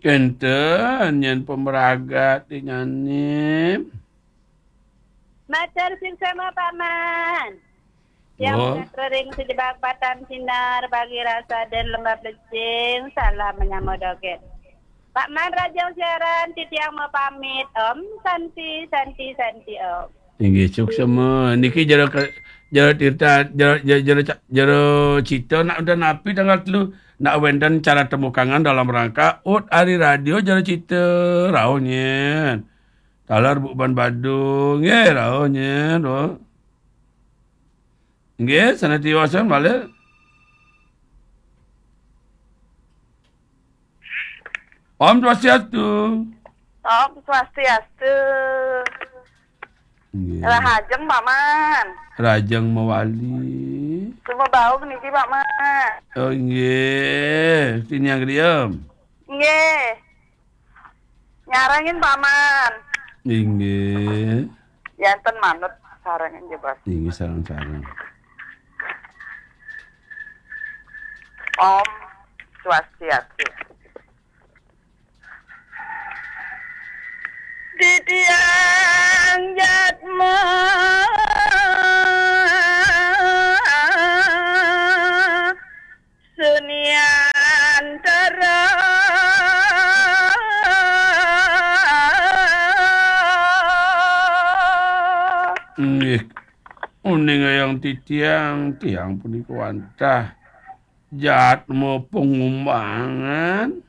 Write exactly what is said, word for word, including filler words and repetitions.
Kenten, nyen pemeragat di nyanim. Matur suksma, Paman. Tiang Oh. Ring sejebak Batan Sinar, Bagi Rasa dan Lembah Plecing, salam menyama dogen. Paman Rajang Siaran, titiang mau pamit. Om Santi, Santi, Santi, Om. Inggih, suksma. Niki jero ke, jero tirta, jero, jero, jero ca-, jero cita nak wenten napi tanggal telu. Nak wenten cara temukangan dalam rangka ut ari radio jero cita rauh nyen. Taler buban Badung, nggih, rauh nyen, rauh. Nggih, sané tiwasan malih. Om Swastiastu. Om Swastiastu. Nggih. Rahajeng, Paman. Rahajeng mawali. Sumebaug niki, Paman. Oh, nggih. Tiniang Griem. Nggih. Nyarengin, Paman. Inggih. Yanten manut sarengin jebos. Inggih, sareng-sareng. Om Swastiastu. Titiang jatma Suniantara. Nggih, uning ayang titiang, tiang punika wantah jatma pangumbangan.